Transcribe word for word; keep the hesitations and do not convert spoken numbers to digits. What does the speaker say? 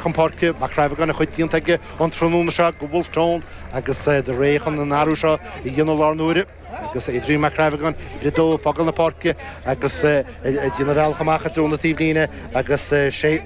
chun páirce Mac Crabhagan a chuid déanta aige an tráthnóna seo go Wolfe Tone agus de réir chun an athrú seo a dhéanamh lár na huaire. agus Adrian Mac Crabhagan le dó fágáil na páirce agus déanamh bealach amach trasna na taobhlíne agus sé sé